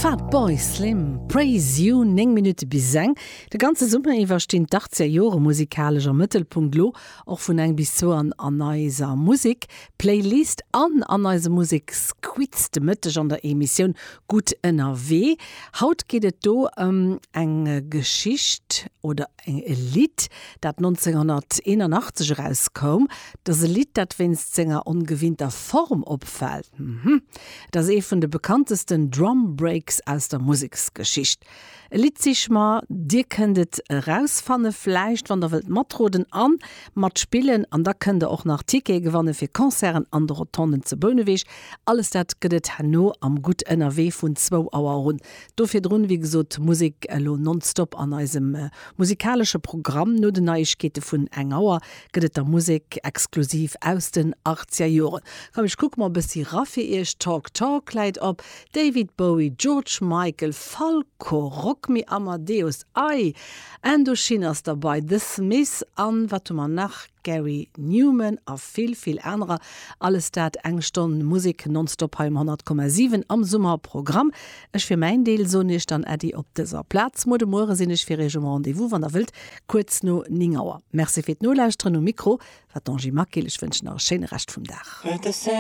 Fatboy Slim, Praise You, 9 Minutte bis eng. De ganze Summer iwwer stinn d'Achtzeger Jore musikalesch am Mëttelpunkt, lo och vun eng bis zwou an an eiser Musek Playlist an an eisem Museksquiz de Mëtteg an der Emissioun Gutt ënnerwee. Haut geet et do ëm eng Geschicht oder e Lidd, dat 1981 erauskoum. Et ass e Lidd, dat wéinst senger ongewinnter Form opfält. Mhm. Et ass ee vun de bekanntesten Drum Breaks aus der Museksgeschicht. E Lidd sich mer, dir kënnt et erausfanne vläicht, wann der wëllt matroden an matspillen. An da kënnt der och nach Tickete gewanne fir Concerten an de Rotonden zu Bouneweg. Alles dat gëtt et herno am Gutt ënnerwee vun zwou Auer un. Do virdrun, wéi gesot, Musek elo nonstop an eisem musikalesche Programm. No den Neiegkeete vun eng Auer gëtt et da Musek exklusiv aus den achtzeger Joren. Komm, ech kucke mol e bëssi ra fir iech. Talk Talk läit op, David Bowie, George Michael, Falco, Rock Me Amadeus, ei, Indochine ass derbei, The Smiths an wat hu mer nach, Gary Numan a vill, vill anerer. Alles dat eng Stonn Musek nonstop hei um 100,7 am Summerprogramm. Ech fir mäin Deel soen iech dann Äddi op dëser Plaz. Muer de Muere sinn ech fir iech um Rendez-vous, wann der wëllt, kuerz no 9 Auer. Merci fir d'Nolauschteren. Um Mikro war d'Angie Maquil. Ech wënschen nach e schéine Rescht vum Dag.